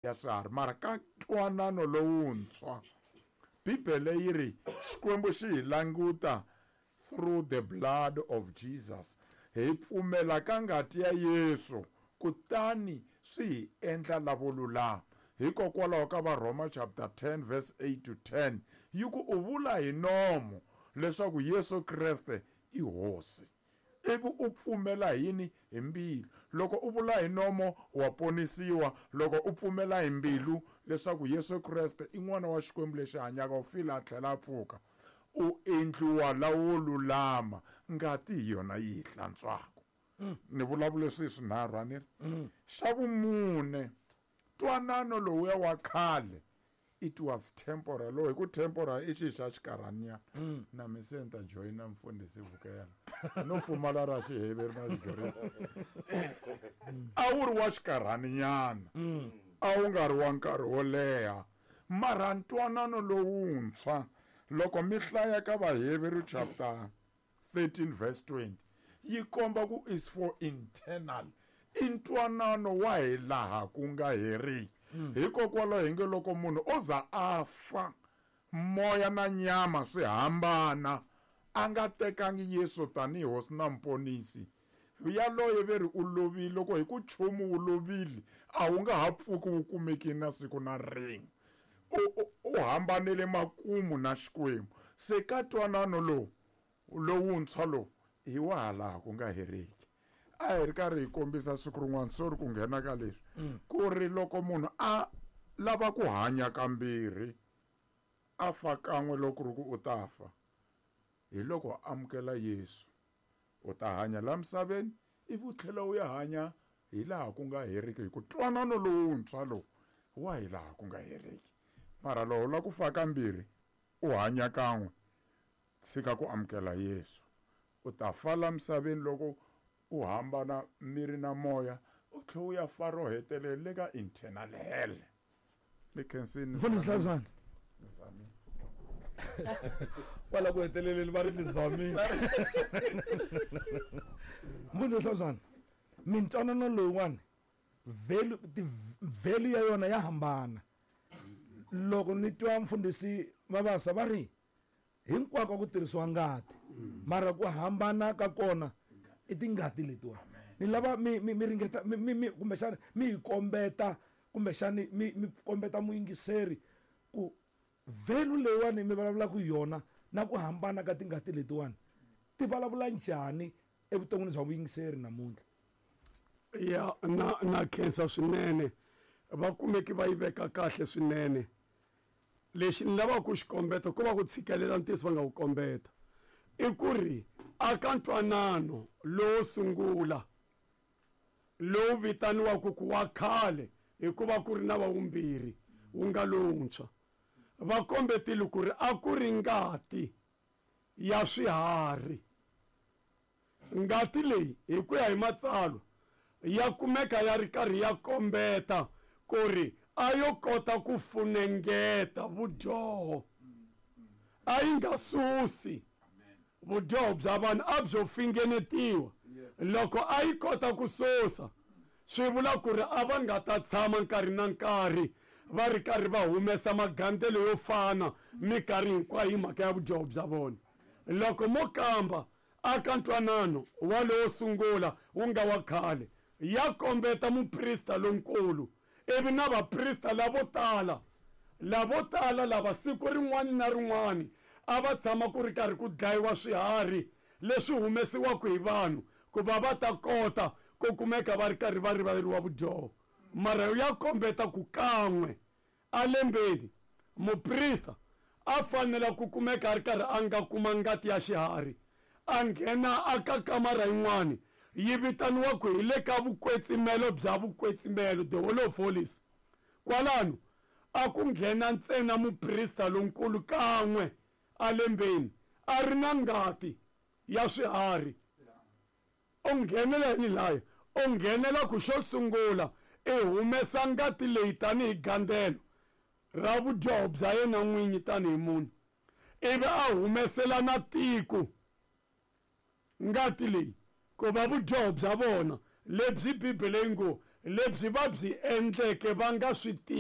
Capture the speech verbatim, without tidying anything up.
Ya swiharhi, mara ka ntwanano lowuntshwa Bibele yi ri Xikwembu xi hi languta through the blood of Jesus. Hi pfumela ka ngati ya Yesu, kutani swi hi endla lavo lulama. Hikokwalaho ka Varhoma chapter ten verse eight to ten yi ku u vula hi nomo leswaku Yesu Kreste i Hosi, ivi u pfumela hi yini? Hi mbilu. Loko u vula hi nomo wa ponisiwa, loko u pfumela hi mbilu leswaku Yesu Kreste i n'wana wa Xikwembu lexi hanyaka, u file a tlhela a pfuka, u endliwa lawo lulama. Ngati hi yona yi hi hlantswaka. Ni vulavule swi swinharhu, a ni ri? Xa vumune, ntwanano lowuya wa khale, it was temporal. Lowu hi ku temporal i xi xa xikarhanyana. Na mi se ni ta joyina mfundhisi Vukela, no pfumala ra Xiheveri na Xigiriki. A wu ri wa xikarhaninyana, a wu nga ri wa nkarhi wo leha. Mara ntwanano lowuntshwa, loko mi hlaya ka Vaheveru chapter thirteen verse twenty, yi komba ku is for internal, i ntwanano wa hi laha ku nga heriki. Hikokwalaho hi nge loko munhu o za a fa, moya na nyama swi hambana, a nga tekangi Yesu tanihi Hosi na Muponisi, yaloye ve ri u lovile. Loko hi ku nchumu wu lovile, a wu nga ha pfuki wu kumekile na siku na rin'we. U, u, u hambanele makumu na Xikwembu. Se ka ntwanano lowu lowuntshwa lowu hi wa ha laha ku nga heriki. A hi ri karhi hi kombisa siku rin'wana, sorry ku nghena ka leswi, ku ri loko munhu a lava ku hanya kambirhi, a fa kan'we loko ri ku u ta fa, hi loko a amukela Yesu, u ta hanya la misaveni ivi u tlhela u ya hanya hi laha ku nga heriki, hi ku ntwanano lowuntshwa lowu wa hi laha ku nga heriki. Mara loko u lava ku fa kambirhi, u hanya kan'we, tshika ku amukela Yesu, u ta fa la misaveni loko u hambana miri na moya, u tlhela u ya fa ro hetelela le ka internal hell. Ni khensini. Mfundhisi Hlazwana. Ni Kwala ku heteleleni va ri ni zamile. Mfundhisi Hlazwana, mintwanano lowuwani, value, ti value ya yona ya hambana. Loko ni twa mfundhisi Mabasa va ri hinkwako ku tirhisiwa ngati, mara ku hambana ka kona i tingati letiwa. Ni lava mi, mi, mi ringeta, mi, mi, mi, kumbexana mi hi kombeta, kumbexana mi, mi kombeta muyingiseri ku value leyiwani mi vulavulaka hi yona na ku hambana ka tingati letiwani ti vulavula njhani evuton'wini bya vuyingiseri namuntlha? Ya, na, na khensa swinene. Va kumeki va yi veka kahle swinene. Lexi ni lavaka ku xi kombeta, ku va ku tshikelela ntiyiso va nga wu kombeta, i ku ri aka ntwanano lowo sungula lowu vitaniwaka ku wa khale, hikuva ku ri na wa vumbirhi wu nga lowuntshwa, va kombetile ku ri a ku ri ngati ya swiharhi. Ngati leyi hi ku ya hi matsalwa ya kumeka ya ri karhi ya kombeta ku ri a yo kota ku funengeta vudyoho, a yi nga susi vudyoho bya vanhu, a byo fingenetiwa. Loko a yi kota ku susa, swi vula ku ri a va nga ta tshama nkarhi na nkarhi va ri karhi va humesa magandzelo yo fana minkarhi hinkwayo hi mhaka ya vudyoho bya vona. Loko mo kamba aka ntwanano wa lowo sungula wu nga wa khale, ya kombeta muprista lonkulu, ivi na vaprista lavo tala, lavo tala lava siku rin'wana na rin'wana a va tshama ku ri karhi ku dlayiwa swiharhi leswi humesiwaka hi vanhu ku va va ta kota ku kumeka va ri karhi va rivaleriwa vudyoho. Mara ya kombeta ku kan'we a lembeni muprista a fanela ku kumeka a ri karhi a nga kuma ngati ya xiharhi, a nghena aka kamara yin'wani yi vitaniwaka hi le ka vukwetsimelo bya vukwetsimelo, the Holy of Holies. Kwalano a ku nghena ntsena muprista lonkulu kan'we a lembeni a ri na ngati ya swiharhi. U nghenela yini laya? U nghenela ku xo sungula i humesa ngati leyi tanihi gandzelo ra vudyoho bya yena n'winyi tanihi munhu, ivi a humesela na tiko ngati leyi ku va vudyoho bya vona lebyi Bibele yi ngo Lebyi va byi endleke va nga swi tivi.